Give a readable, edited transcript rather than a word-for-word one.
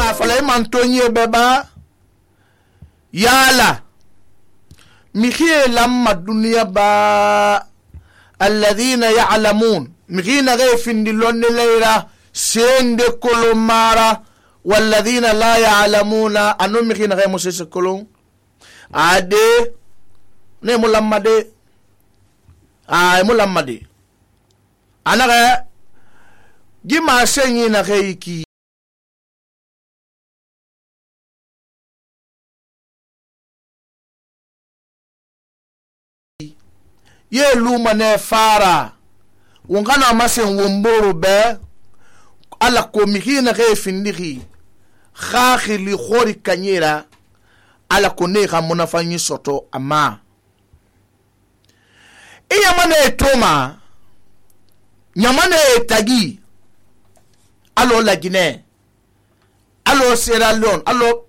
nga fala man tonye beba yala mikhie lamma dunya ba alladhina ya'lamun mikhina gayfin dilonne leira sende kolomara walladhina la ya'lamuna anu mikhina gay musese kolon ade ne mulamade mulamade anaga gima senyi na gayki ye luma ne fara wongana masen womboro be ala ko mihina ge findiki khakhili khori kanyera ala ko ne ga munafanyi soto ama iya mane toma nyamane tagi alo la Guinée alo Sierra Leone alo